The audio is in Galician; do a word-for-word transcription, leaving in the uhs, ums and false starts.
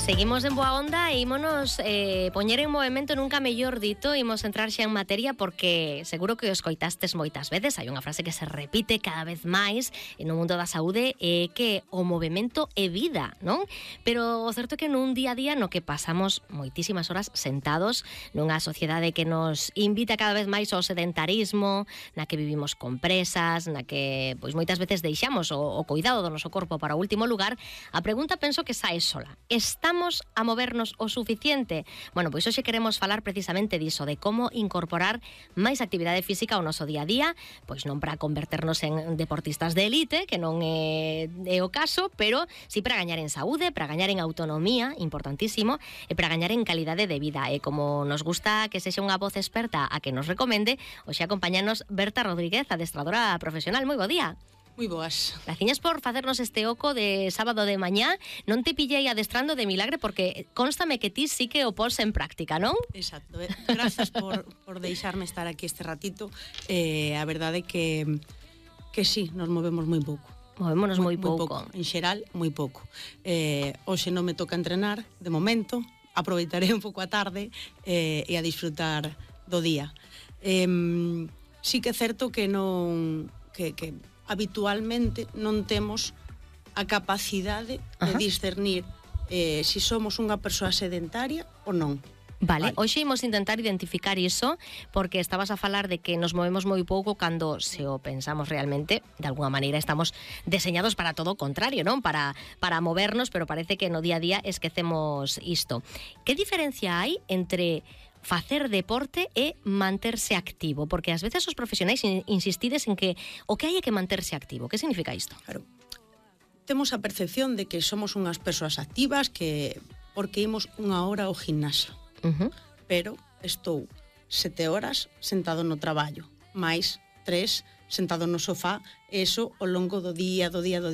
Seguimos en boa onda e ímonos eh, poñer en movimento nunca mellor dito. Imos entrar xa en materia porque seguro que os coitastes moitas veces. Hai unha frase que se repite cada vez máis no mundo da saúde, é que o movimento é vida, non? Pero o certo é que nun día a día no que pasamos moitísimas horas sentados nunha sociedade que nos invita cada vez máis ao sedentarismo, na que vivimos con presas, na que pois moitas veces deixamos o, o cuidado do noso corpo para o último lugar, a pregunta penso que sae sola. Estamos a movernos o suficiente? Bueno, pois hoxe queremos falar precisamente diso, de como incorporar máis actividade física ao noso día a día, pois non para converternos en deportistas de élite, que non é, é o caso, pero sí para gañar en saúde, para gañar en autonomía, importantísimo, e para gañar en calidade de vida. E como nos gusta que sexa unha voz experta a que nos recomende, hoxe acompáñanos Berta Rodríguez, adestradora profesional. Moi bo día. Moi boas. Graciñas por facernos este oco de sábado de mañá. Non te pillei adestrando de milagre porque constame que ti sí que o pos en práctica, non? Exacto. Grazas por, por deixarme estar aquí este ratito. Eh, a verdade é que, que sí, nos movemos moi pouco. Movémonos moi, moi pouco. pouco. En xeral, moi pouco. Eh, hoxe non me toca entrenar, de momento. Aproveitaré un pouco a tarde eh, e a disfrutar do día. Eh, sí que é certo que non... que, que habitualmente non temos a capacidade de Ajá. discernir eh, se si somos unha persoa sedentaria ou non. Vale, vale, hoxe imos intentar identificar iso, porque estabas a falar de que nos movemos moi pouco cando, se o pensamos realmente, de alguna maneira estamos deseñados para todo o contrario, non? Para, para movernos, pero parece que no día a día esquecemos isto. Que diferencia hai entre facer deporte e manterse activo? Porque ás veces os profesionais insistides en que o que hai é que manterse activo. Que significa isto? Claro. Temos a percepción de que somos unhas persoas activas que porque imos unha hora ao gimnasio. Uh-huh. Pero estou sete horas sentado no traballo, máis tres sentado no sofá, eso ao longo do día, do día, do día.